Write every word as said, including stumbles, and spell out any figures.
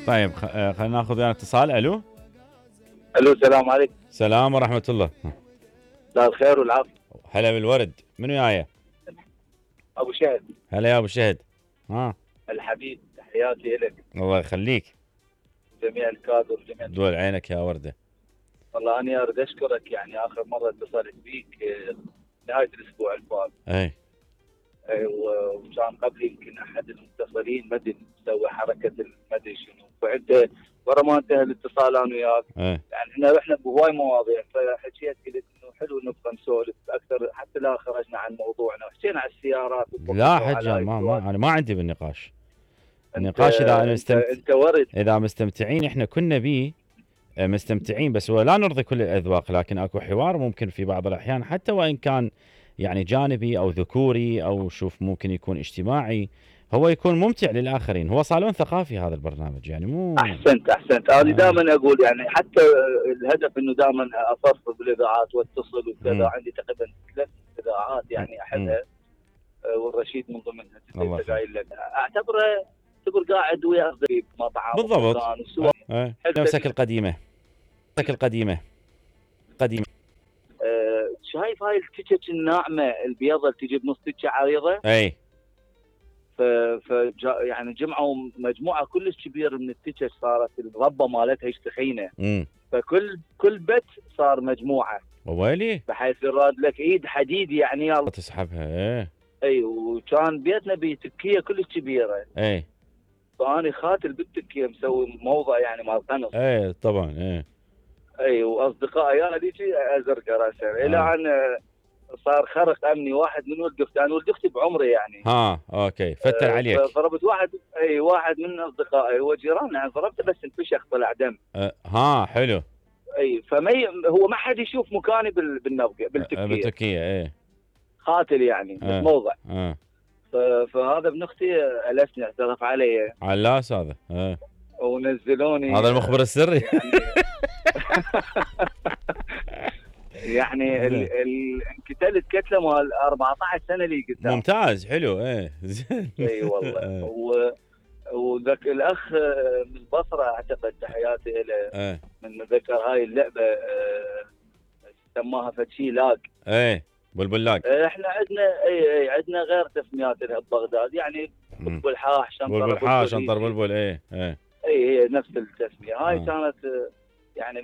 طيب خ... آه، خلينا ناخذ ويانا اتصال. الو الو السلام عليكم. سلام ورحمه الله. مساء الخير والعافيه. هلا بالورد. من وياي؟ ابو شهد. هلا يا ابو شهد. ها الحبيب، تحياتي لك. الله يخليك. جميع الكادر جميع. دول عينك يا ورده. والله اني اريد اشكرك، يعني اخر مره اتصلت بيك آه، نهايه الاسبوع الفات. اي اي وكان قبلي يمكن احد المتصلين ما ادري مسوي حركه ما ادري شنو، فانت ورا ما انتهى الاتصال انا وياك اي يعني احنا رحنا بهواي مواضيع، فحكيت قلت انه حلو نبقى نسولف اكثر حتى لا خرجنا عن موضوعنا، وحكينا عن السيارات. لا حجه ما, ما انا ما عندي بالنقاش. النقاش انت اذا مستمت... انت ورد. اذا مستمتعين احنا كنا بيه مستمتعين، بس ولا نرضي كل الاذواق، لكن اكو حوار ممكن في بعض الاحيان حتى وان كان يعني جانبي او ذكوري او شوف ممكن يكون اجتماعي، هو يكون ممتع للاخرين. هو صالون ثقافي هذا البرنامج يعني مو. احسنت احسنت انا آه. دائما اقول يعني حتى الهدف انه دائما اصرف بالاذاعات واتصل وكذا، عندي تقريبا ثلاث اذاعات يعني احدها والرشيد من ضمنها. انت قايل لك اعتبره اعتبر قاعد ويا اصدقائي بمطعم بالضبط. ايه نفسك القديمه نفسك القديمه قديمه. أه شايف هاي التيشيرت الناعمه البيضه اللي تجي بنص تيشيرت عريضه؟ اي ف ف يعني جمعوا مجموعه كلش كبيره من التيشيرت، صارت الربه مالتها ايش تخينه. امم فكل كل بيت صار مجموعه. وويلي بحيث يراد لك ايد حديد يعني يلا تسحبها. ايه اي وكان بيتنا بتكيه كلش كبيره. اي فاني خاتل بالتكيه مسوي موضع يعني مال قنص. ايه طبعا. ايه اي واصدقائي هذيك ازرق راسا الى ان صار خرق امني. واحد من ولد اختي، انا ولد اختي بعمري يعني. ها اوكي فتر عليك. ضربت واحد اي واحد من اصدقائي هو جيراننا يعني، ضربته بس انفشخ طلع دم. أه ها حلو. اي فما هو ما حد يشوف مكاني بالنبقه بالتكيه. بالتكيه ايه خاتل يعني أه. بالموضع. اه فهذا ابن اختي السني اعترف علي. علاس هذا. اه ونزلوني هذا المخبر السري يعني يعني ال ال انقتلت كتله مال أربعة عشر سنه اللي قدام. ممتاز حلو. ايه زين. اي والله. و وذاك الاخ من البصره اعتقد تحياتي له. ايه من ذكر هاي اللعبه سماها فتشي لاق. ايه بلبل لاق. احنا عندنا اي اي عندنا غير تسميات لها ببغداد يعني بلبل حاح شنطر بلبل حاح شنطر بلبل. ايه ايه اي هي نفس التسميه هاي. آه. كانت يعني